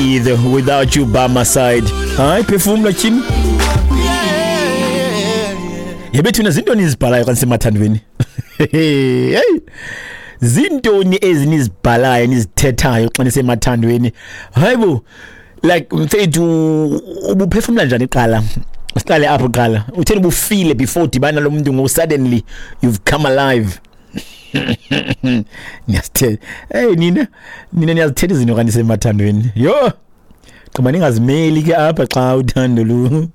Breathe Without You By My Side. Hayi, phefumla tyhini. Yebethuna, zintoni izibhalayo xa nisemathandweni? Hey, zintoni ezinizibhalayo nizithethayo xa nisemathandweni? Hayibo, like mfethu, ubuphefumla njani? Qala siqale apho qala. Utheni ubufile before udibana lo muntu, ngo suddenly you've come alive? Niyazithetha, hey, nina niyazithetha izinto xa nisemathandweni. Yho, gqiba ningazimeli ke apha xa uthando lu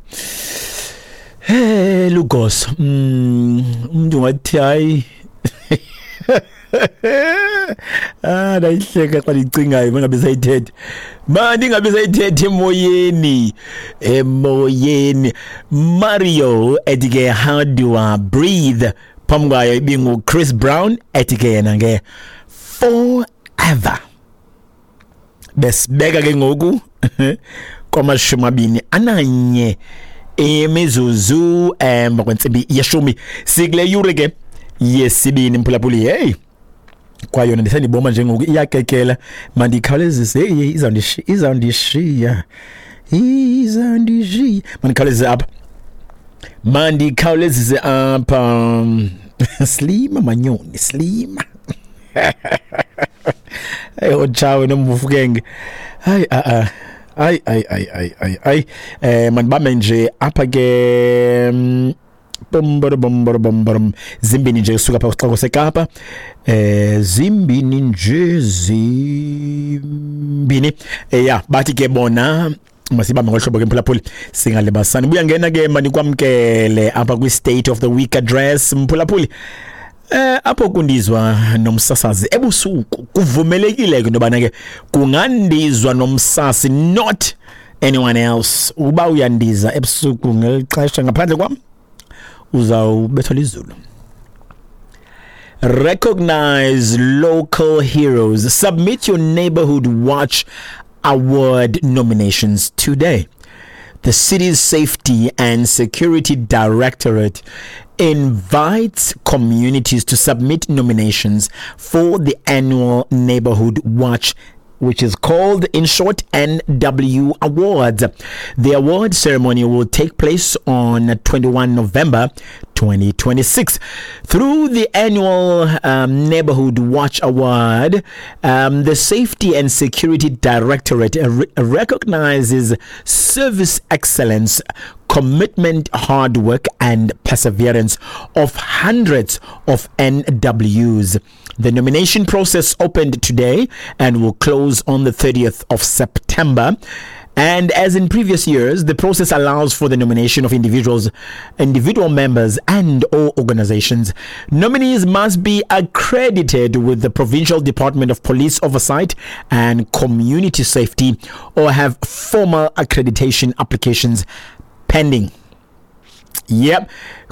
hey lugoso. Umuntu ngathi hayi, ah, ndayihleka xa ndicingayo. Mangabe sayithethe, mandingabe sayithethe emoyeni, emoyeni. Mario ethi ke "How Do I Breathe". Phambi kwayo ibingu Chris Brown ethi ke yena nge "Forever". Besibeka ke ngoku kwama-21 imizuzu emva kwentsimbi yeshumi, sikule yure ke yesibini, mphulaphuli. Hey, kwayona ndisandiboma njengoku iyakekela, mandikhawulezise. Hey, izawundishiya, izawundishiya, izawundishiya. Mandikhawulezise apha, mandikhawulezise apha. Slima manyoni, slima. Hey, otshawe nomvufukenge. Hayi, a a hayi, hayi, hayi, hayi, hayi, hayi. Mandibambe nje apha ke. Bum bum bum bum bum. Zimbini nje kusuka pha kwisixeko seKapa. Zimbini nje, zimbini. Ya, bathi ke bona masibambe ngohlobo ke, mphulaphuli, singalibasani. Buya ngena ke, manikwamkele apha kwi-State of the Week Address, mphulaphuli. Apho kundizwa nomsasazi ebusuku, kuvumelekile ke into yobana ke kungandizwa nomsasi, not anyone else. Uba uyandiza ebusuku ngeli xesha ngaphandle kwam, uzawubethwa lizulu. Recognize local heroes. Submit your Neighborhood Watch Award nominations today. The city's Safety and Security Directorate invites communities to submit nominations for the annual Neighborhood Watch, which is called in short NW Awards. The award ceremony will take place on 21 November 2026. Through the annual Neighborhood Watch Award, the Safety and Security Directorate recognizes service excellence, commitment, hard work, and perseverance of hundreds of NWs. The nomination process opened today and will close on the 30th of September. And as in previous years, the process allows for the nomination of individuals, individual members, and or organizations. Nominees must be accredited with the Provincial Department of Police Oversight and Community Safety or have formal accreditation applications pending. Yep.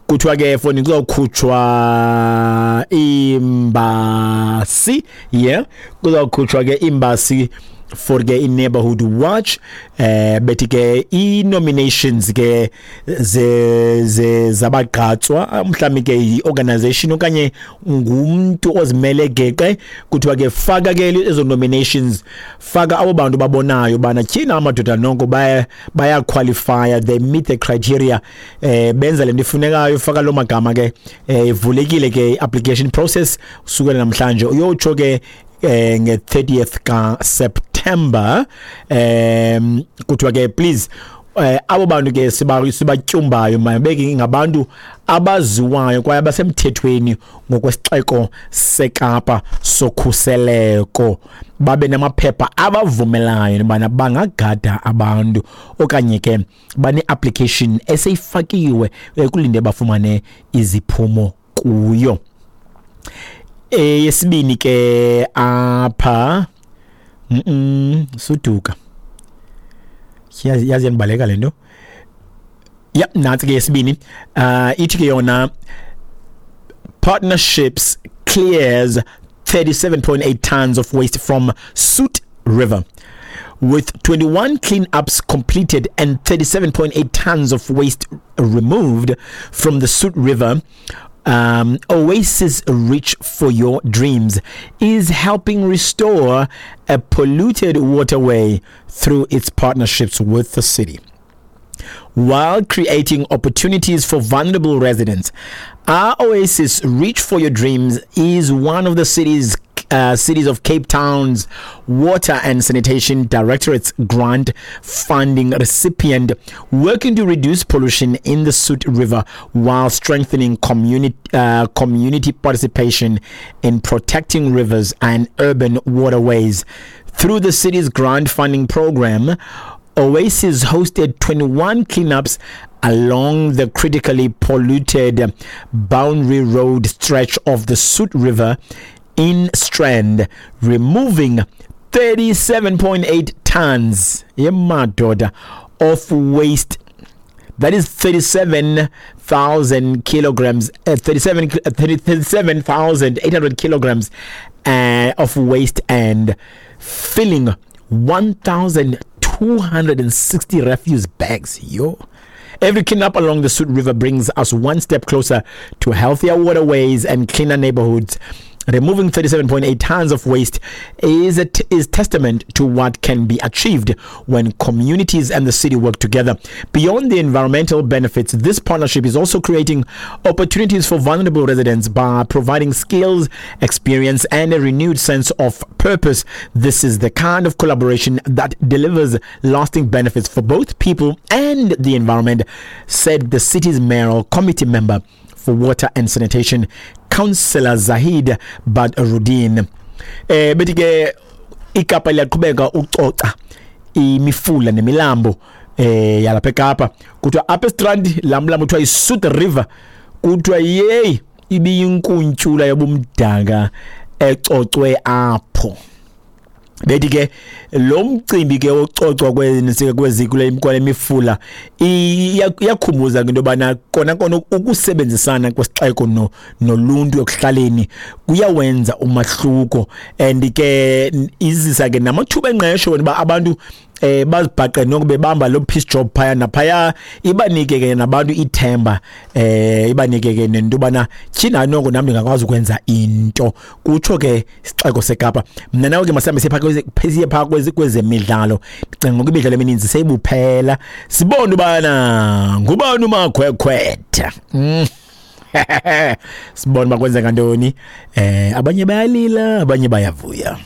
Kuthiwa ke foni kuzawukhutshwa imbasi, yeah, kuzawukhutshwa ke imbasi for ke i-Neighborhood Watch. Bethi ke i-nominations ke ze zabagqatswa, mhlawumbi ke i-organization okanye ngumntu ozimele geqe, kuthiwa ke faka ke ezo nominations, faka abo bantu babonayo bana tyhina amadoda nonko baya qualify, they meet the criteria, benza lento ifunekayo. Faka lo magama ke. Ivulekile ke application process usukela namhlanje uyotsho ke nge-30th ka September. Kuthiwa ke please, abo bantu ke sibatyumbayo mabeke ngabantu abaziwayo kwaye abasemthethweni ngokwesixeko seKapa sokhuseleko, babe namaphepha abavumelayo bana bangagada abantu okanye ke bane-application eseyifakiwe ekulinde bafumane iziphumo kuyo. Eyesibini ke apha, suduka, yazi yazi yandibaleka le nto. Ya, nantsi ke yesibini. Ithi ke yona "Partnerships clears 37.8 tons of waste from Soot River". With 21 cleanups completed and 37.8 tons of waste removed from the Soot River Oasis Reach for Your Dreams is helping restore a polluted waterway through its partnerships with the city while creating opportunities for vulnerable residents. Our Oasis Reach for Your Dreams is one of the cities of Cape Town's Water and Sanitation Directorate's grant funding recipient, working to reduce pollution in the Soot River while strengthening community participation in protecting rivers and urban waterways. Through the city's grant funding program, Oasis hosted 21 cleanups along the critically polluted Boundary Road stretch of the Soot River in Strand, removing 37.8 tons, yemadoda, of waste. That is 37,000 kilograms, 37,800 kilograms of waste and filling 1,260 refuse bags. Yo. Every cleanup along the Soot River brings us one step closer to healthier waterways and cleaner neighborhoods. Removing 37.8 tons of waste is testament to what can be achieved when communities and the city work together. Beyond the environmental benefits, this partnership is also creating opportunities for vulnerable residents by providing skills, experience, and a renewed sense of purpose. This is the kind of collaboration that delivers lasting benefits for both people and the environment, said the city's mayoral committee member for water and sanitation, Councillor Zahid Badroodien. Bethi ke iKapa liyaqhubeka ucoca imifula nemilambo yalapha eKapa. Kuthiwa apha eStrand, laa mlambo kuthiwa yiSoot River, kuthiwa yeyi, ibiyinkuntyula yobumdaka ecocwe apho. Bethi ke lo mcimbi ke wococwa kwezi kwale mifula iyakhumbuza into yobana kona kona ukusebenzisana kwesixeko noluntu ekuhlaleni kuyawenza umahluko, and ke izisa ke namathuba engqesho wena uba abantu bazibhaqe noko bebamba lo piece job phaya naphaya, ibanike ke nabantu ithemba, ibanike ke nento yobana tyhina, noko nam ndingakwazi ukwenza into, kutsho ke isixeko seKapa. Mna nawe ke masihambe siye phaa kwezemidlalo. Ndicinga ngoku imidlalo emininzi seyibuphela, sibone ubana ngubani umakhwekhwetha. Sibone uba kwenzeka ntoni. Abanye bayalila, abanye bayavuya.